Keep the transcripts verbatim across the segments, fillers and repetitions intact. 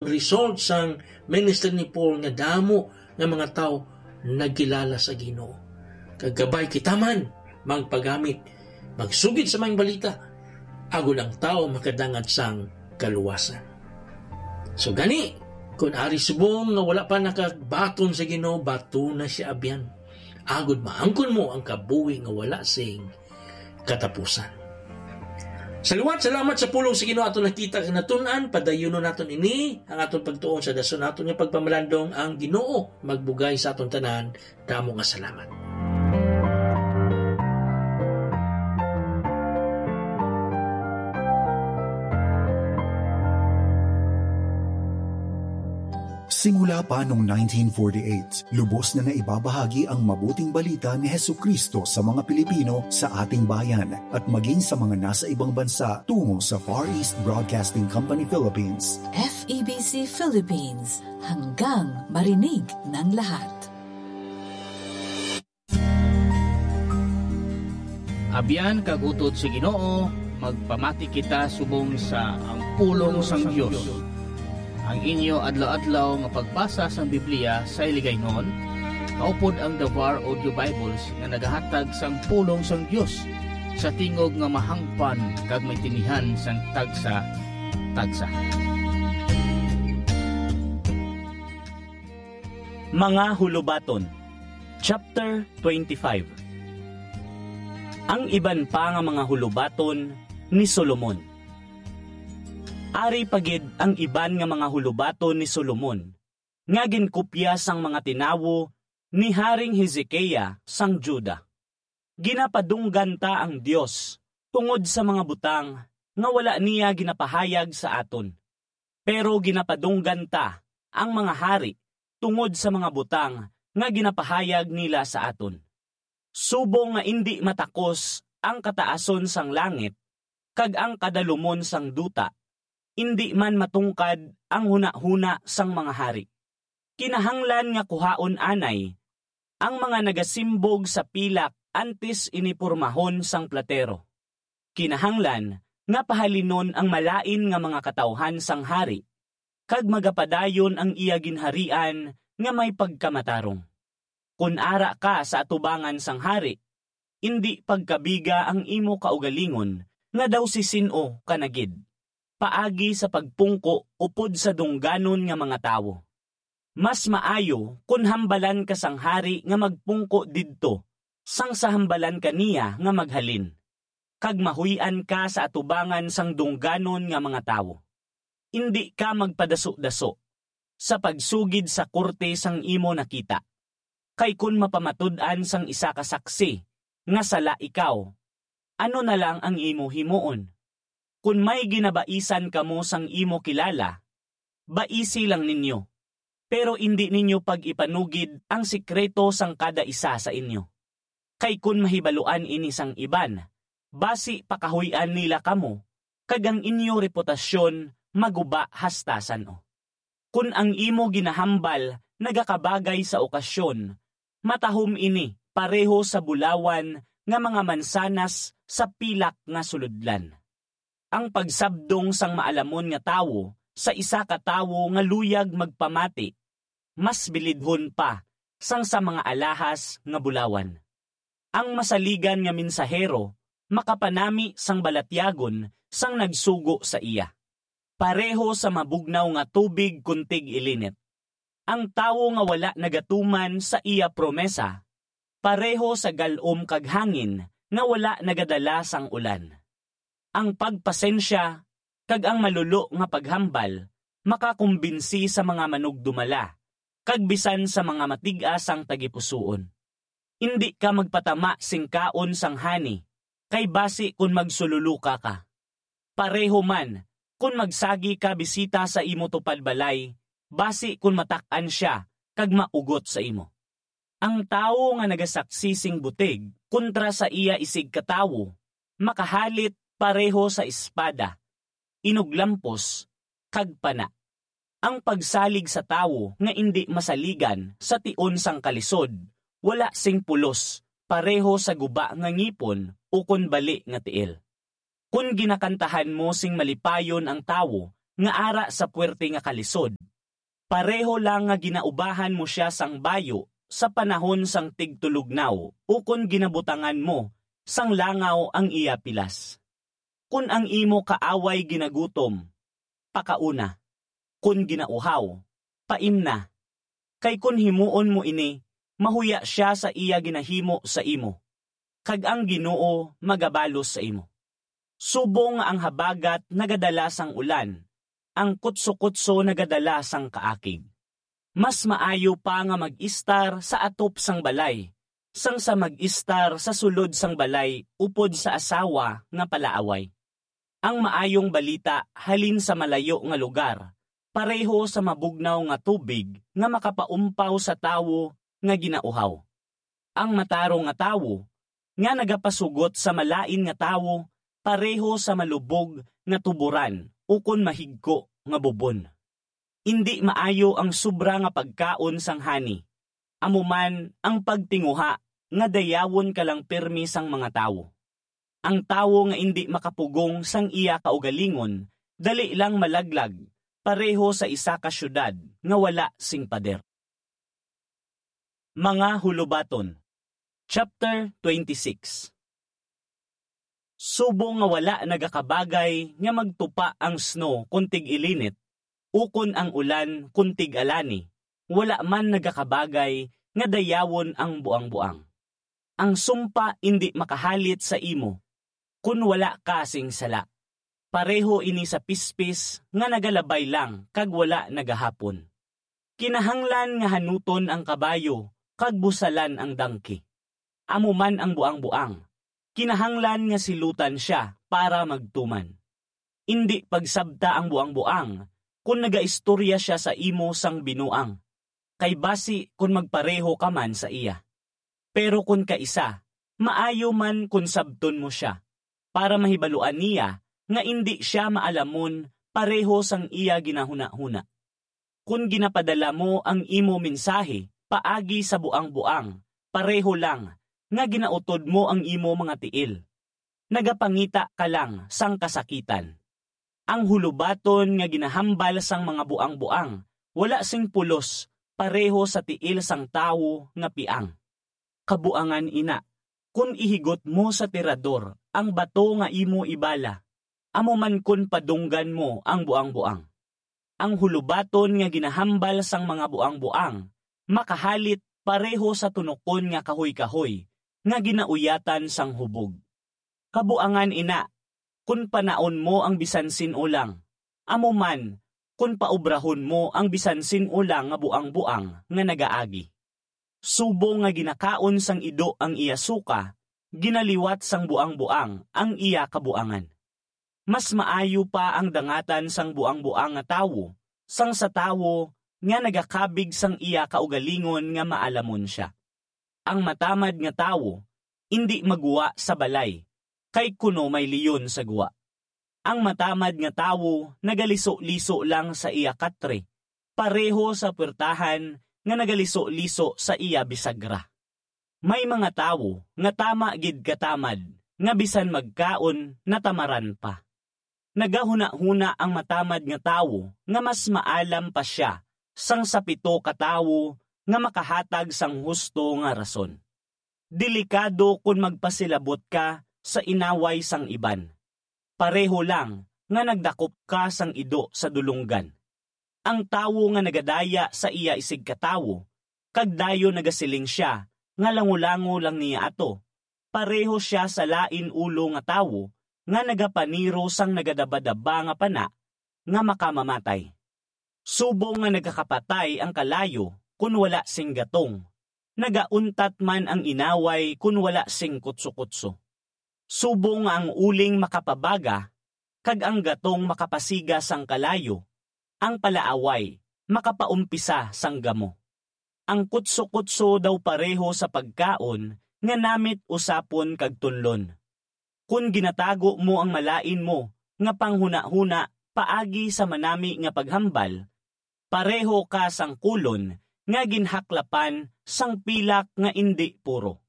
result sang ministry ni Paul nga damo nga mga tawo nagkilala sa Ginoo. Kag kabay kita man magpagamit, magsugid sa maayong balita, agod ang tawo makadangad sang kaluwasan. So gani, kun ari subong nga wala pa nakabaton sa Ginoo, bato na siya abyan, agod maangkon mo ang kabuhi nga wala sing katapusan. Sa liwat, salamat sa pulong sa Ginoo aton nakita kag natun-an. Padayunon naton ini, ang aton pagtuon sa dason naton nga pagpamalandong. Ang Ginoo magbugay sa aton tanan. Damo nga salamat. Simula pa noong nineteen forty-eight, lubos na naibabahagi ang mabuting balita ni Jesucristo sa mga Pilipino sa ating bayan at maging sa mga nasa ibang bansa tungo sa Far East Broadcasting Company Philippines. F E B C Philippines, hanggang marinig ng lahat. Abyan kag utod sa Ginoo, magpamati kita subong sa ang pulong sang Dios. Ang inyo adlaw-adlaw nga pagbasa sang Biblia sa Hiligaynon, kaupod ang The Var Audio Bibles nga nagahatag sang pulong sang Dios sa tingog nga mahangpan kag may tinihan sang tagsa-tagsa. Mga Hulubaton, Chapter twenty-five. Ang iban pa nga mga hulubaton ni Solomon. Ari pa gid ang iban nga mga hulubaton ni Solomon, nga ginkopya sang mga tinawo ni Haring Hezekia sang Juda. Ginapadunggan ta ang Dios tungod sa mga butang nga wala niya ginapahayag sa aton, pero ginapadunggan ta ang mga hari tungod sa mga butang nga ginapahayag nila sa aton. Subong nga indi matakos ang kataason sang langit kag ang kadalumon sang duta, indi man matungkad ang hunahuna sang mga hari. Kinahanglan nga kuhaon anay ang mga nagasimbog sa pilak antes ini pormahon sang platero. Kinahanglan nga pahalinon ang malain nga mga katawhan sang hari, kag magapadayon ang iya ginharian nga may pagkamatarong. Kon ara ka sa atubangan sang hari, indi pagkabiga ang imo kaugalingon nga daw si sin-o ka na gid, paagi sa pagpungko upod sa dungganon nga mga tawo. Mas maayo kon hambalan ka sang hari nga magpungko didto, sang sa hambalan ka niya nga maghalin, kag mahuy-an ka sa atubangan sang dungganon nga mga tawo. Indi ka magpadaso-daso sa pagsugid sa korte sang imo nakita. Kay kon mapamatud-an sang isa ka saksi nga sala ikaw, ano na lang ang imo himuon? Kon may ginabaisan kamo sang imo kilala, baisi lang ninyo, pero indi ninyo pag-ipanugid ang sikreto sang kada isa sa inyo. Kay kon mahibaluan ini sang iban, basi pakahuy-an nila kamo, kag ang inyo reputasyon maguba hastasan-o. Kon ang imo ginahambal nagakabagay sa okasyon, matahom ini pareho sa bulawan nga mga mansanas sa pilak nga sulodlan. Ang pagsabdong sang maalamon nga tawo sa isa ka tawo nga luyag magpamati mas bilidhon pa sang sa mga alahas nga bulawan. Ang masaligan nga mensahero makapanami sang balatyagon sang nagsugo sa iya, pareho sa mabugnaw nga tubig kon tig-ilinit. Ang tawo nga wala nagatuman sa iya promesa, pareho sa gal-om kag hangin nga wala nagadala sang ulan. Ang pagpasensya kag ang malulo nga paghambal makakumbinsi sa mga manugdumala kag bisan sa mga matig-a sang tagipusoon. Indi ka magpatama sing kaon sang hani, kay basi kon magsululuka ka. Pareho man kon magsagi ka bisita sa imo tupad balay, basi kon matak-an sia kag maugot sa imo. Ang tawo nga nagasaksi sing butig kontra sa iya isigkatawo makahalit pareho sa espada, inuglampos, kag pana. Ang pagsalig sa tawo nga indi masaligan sa tion sang kalisod wala sing pulos, pareho sa guba nga ngipon ukon bali nga tiil. Kon ginakantahan mo sing malipayon ang tawo nga ara sa puwerte nga kalisod. Pareho lang nga ginaubahan mo sia sang bayu sa panahon sang tigtulognaw, ukon ginabutangan mo sang langaw ang iya pilas. Kon ang imo kaaway ginagutom, pakauna; kon ginauhaw, paimna. Kay kon himuon mo ini, mahuya sia sa iya ginahimo sa imo, kag ang Ginoo magabalos sa imo. Subong nga ang habagat nagadala sang ulan, ang kutsokutso nagadala sang kaakig. Mas maayo pa nga mag-istar sa atop sang balay, sang sa mag-istar sa sulod sang balay upod sa asawa nga palaaway. Ang maayong balita halin sa malayo nga lugar pareho sa mabugnaw nga tubig nga makapaumpaw sa tawo nga ginauhaw. Ang matarong nga tawo nga nagapasugot sa malain nga tawo pareho sa malubog nga tuboran ukon mahigko nga bubon. Indi maayo ang sobra nga pagkaon sang hani, amo man ang pagtinguha nga dayawon ka lang pirme sang mga tawo. Ang tawo nga indi makapugong sang iya kaugalingon dali lang malaglag, pareho sa isa ka siyudad nga wala sing pader. Mga Hulubaton, Chapter twenty-six. Subong nga wala nagakabagay nga magtupa ang snow kon tig-ilinit, ukon ang ulan kon tig-alani, wala man nagakabagay nga dayawon ang buangboang. Ang sumpa indi makahalit sa imo kon wala ka sing sala. Pareho ini sa pispis nga nagalabay lang kag wala nagahapon. Kinahanglan nga hanuton ang kabayo kag busalan ang dangki. Amo man ang buangboang, kinahanglan nga silutan sia para magtuman. Indi pagsabta ang buangboang kon nagaistorya sia sa imo sang binuang, kay basi kon magpareho ka man sa iya. Pero kon kaisa, maayo man kon sabton mo sia, para mahibaluan niya nga indi sia maalamon pareho sang iya ginahunahuna. Kon ginapadala mo ang imo mensahe paagi sa buangboang, pareho lang nga ginautod mo ang imo mga tiil. Nagapangita ka lang sang kasakitan. Ang hulubaton nga ginahambal sang mga buangboang wala sing pulos, pareho sa tiil sang tawo nga piang. Kabuangan ina, kon ihigot mo sa tirador ang bato nga imo ibala, amo man kon padunggan mo ang buangboang. Ang hulubaton nga ginahambal sang mga buangboang makahalit pareho sa tunokon nga kahoy-kahoy nga ginauyatan sang hubog. Kabuangan ina, kon panaon mo ang bisan sin-o lang, amo man kon paubrahon mo ang bisan sin-o lang nga buangboang nga nagaagi. Subong nga ginakaon sang ido ang iya suka, ginaliwat sang buangboang ang iya kabuangan. Mas maayo pa ang dangatan sang buangboang nga tawo sang sa tawo nga nagakabig sang iya kaugalingon nga maalamon sia. Ang matamad nga tawo indi maggwa sa balay, kay kuno may leon sa gwa. Ang matamad nga tawo nagaliso-liso lang sa iya katre, pareho sa puwertahan nga nagaliso-liso sa iya bisagra. May mga tawo nga tama gid katamad nga bisan magkaon natamaran pa. Nagahunahuna ang matamad nga tawo nga mas maalam pa sia sang sa pito ka tawo nga makahatag sang husto nga rason. Delikado kon magpasilabot ka sa inaway sang iban, pareho lang nga nagdakop ka sang ido sa dulonggan. Ang tawo nga nagadaya sa iya isigkatawo, kag dayon nagasiling sia nga langolango lang niya ato, pareho sia sa lain ulo nga tawo nga nagapaniro sang nagadabadaba nga pana nga makamamatay. Subong nga nagakapatay ang kalayo kon wala sing gatong, nagauntat man ang inaway kon wala sing kutsokutso. Subong nga ang uling makapabaga, kag ang gatong makapasiga sang kalayo, ang palaaway makapaumpisa sang gamo. Ang kutsokutso daw pareho sa pagkaon nga namit usapon kag tunlon. Kon ginatago mo ang malain mo nga panghunahuna paagi sa manami nga paghambal, pareho ka sang kulon nga ginhaklapan sang pilak nga indi puro.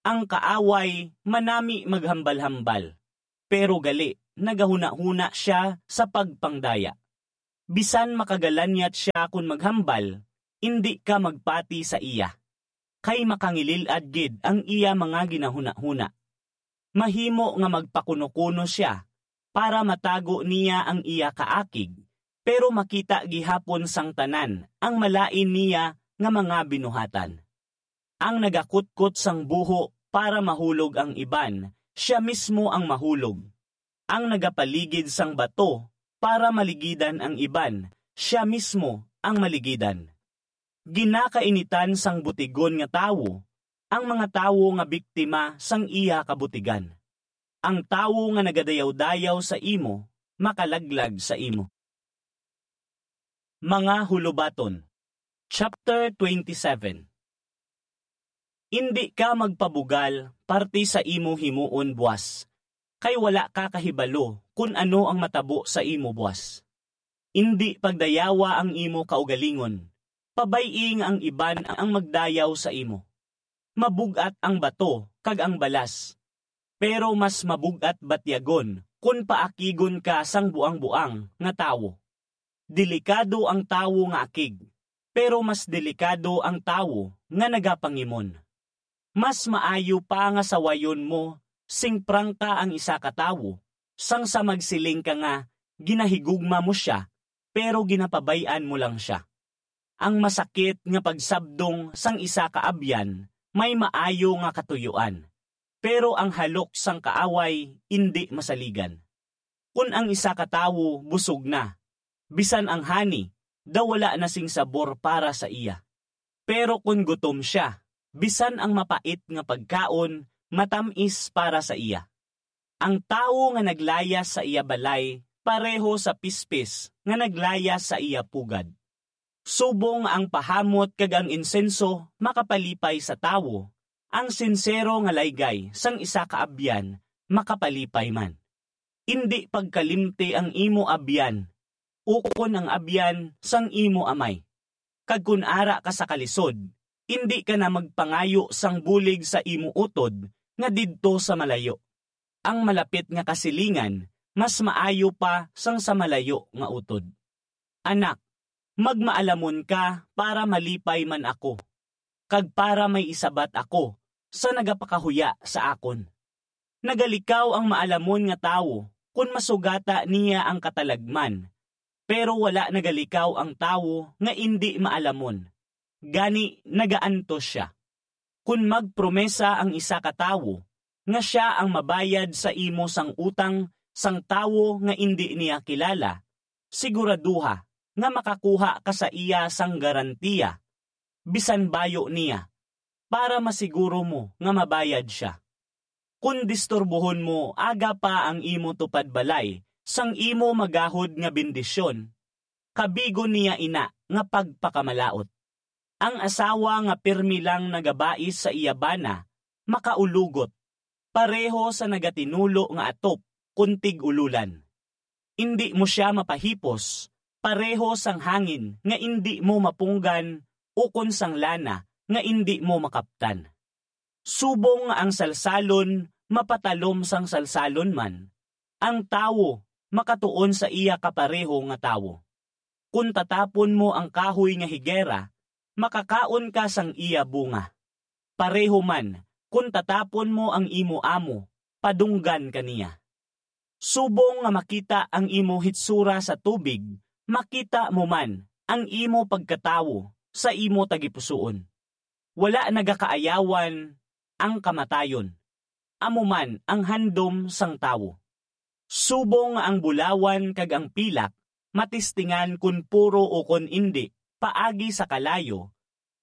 Ang kaaway manami maghambal-hambal, pero gali nagahunahuna sia sa pagpangdaya. Bisan makagalanyat sia kon maghambal, indi ka magpati sa iya, kay makangilil-ad gid ang iya mga ginahunahuna. Mahimo nga magpakunokuno sia para matago niya ang iya kaakig, pero makita gihapon sang tanan ang malain niya nga mga binuhatan. Ang nagakutkot sang buho para mahulog ang iban, sia mismo ang mahulog. Ang nagapaligid sang bato para maligidan ang iban, sia mismo ang maligidan. Ginakainitan sang butigon nga tawo ang mga tawo nga biktima sang iya kabutigan. Ang tawo nga nagadayaw-dayaw sa imo makalaglag sa imo. Mga Hulubaton, Chapter twenty-seven. Indi ka magpabugal parte sa imo himuon buas, kay wala ka kahibalo kon ano ang matabo sa imo buas. Indi pagdayawa ang imo kaugalingon, pabay-i nga ang iban ang magdayaw sa imo. Mabug-at ang bato kag ang balas, pero mas mabug-at batyagon kon paakigon ka sang buang-buang nga tawo. Delikado ang tawo nga akig, pero mas delikado ang tawo nga nagapangimon. Mas maayo pa nga sawayon mo sing prangka ang isa ka tawo, sang sa magsiling ka nga ginahigugma mo sia, pero ginapabay-an mo lang sia. Ang masakit nga pagsabdong sang isa ka abyan may maayo nga katuyuan, pero ang halok sang kaaway indi masaligan. Kon ang isa ka tawo busog na, bisan ang hani daw wala na sing sabor para sa iya. Pero kon gutom sia, bisan ang mapait nga pagkaon matam-is para sa iya. Ang tawo nga naglayas sa iya balay pareho sa pispis nga naglayas sa iya pugad. Subong nga ang pahamot kag ang insenso makapalipay sa tawo, ang sinsero nga laygay sang isa ka abyan makapalipay man. Indi pagkalimti ang imo abyan, ukon ang abyan sang imo amay. Kag kon ara ka sa kalisod, indi ka na magpangayo sang bulig sa imo utod nga didto sa malayo. Ang malapit nga kasilingan mas maayo pa sang sa malayo nga utod. Anak, magmaalamon ka para malipay man ako, kag para may isabat ako sa nagapakahuya sa akon. Nagalikaw ang maalamon nga tawo kon masugata niya ang katalagman, pero wala nagalikaw ang tawo nga indi maalamon, gani nagaantos sia. Kon magpromesa ang isa ka tawo nga sia ang mabayad sa imo sang utang sang tawo nga indi niya kilala, siguraduha nga makakuha ka sa iya sang garantiya, bisan bayo niya, para masiguro mo nga mabayad sia. Kon disturbohon mo aga pa ang imo tupad balay sang imo magahod nga bendisyon, kabigon niya ina nga pagpakamalaut. Ang asawa nga pirmi lang nagabais sa iya bana makaulugot, pareho sa nagatinulo nga atop kon tig-ululan. Indi mo sia mapahipos, pareho sang hangin nga indi mo mapunggan, ukon sang lana nga indi mo makaptan. Subong nga ang salsalon mapatalom sang salsalon man, ang tawo makatuon sa iya kapareho nga tawo. Kon tatapon mo ang kahoy nga higera, makakaon ka sang iya bunga. Pareho man, kon tatapon mo ang imo amo, padunggan ka niya. Subong nga makita ang imo hitsura sa tubig, makita mo man ang imo pagkatawo sa imo tagipusoon. Wala nagakaayawan ang kamatayon, amo man ang handom sang tawo. Subong nga ang bulawan kag ang pilak matistingan kon puro ukon indi paagi sa kalayo,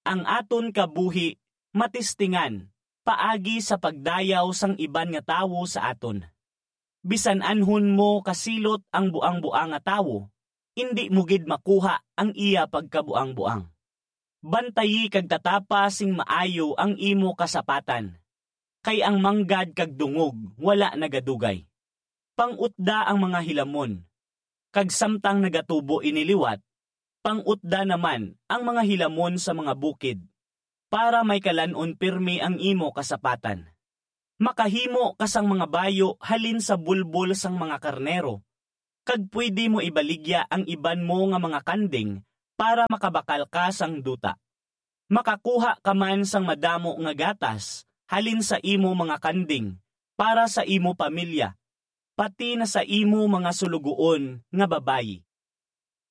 ang aton kabuhi matistingan paagi sa pagdayaw sang iban nga tawo sa aton. Bisan anhon mo kasilot ang buang-buang nga tawo, indi mo gid makuha ang iya pagkabuang-buang. Bantayi kag tatapa sing maayo ang imo kasapatan, kay ang manggad kag dungog wala nagadugay. Pang-utda ang mga hilamon, kag samtang nagatubo ini liwat, pang-utda naman ang mga hilamon sa mga bukid, para may kalan-on pirme ang imo kasapatan. Makahimo ka sang mga bayo halin sa bulbol sang mga karnero, kag pwede mo ibaligya ang iban mo nga mga kanding para makabakal ka sang duta. Makakuha ka man sang madamo nga gatas halin sa imo mga kanding para sa imo pamilya, pati na sa imo mga sulugoon nga babayi.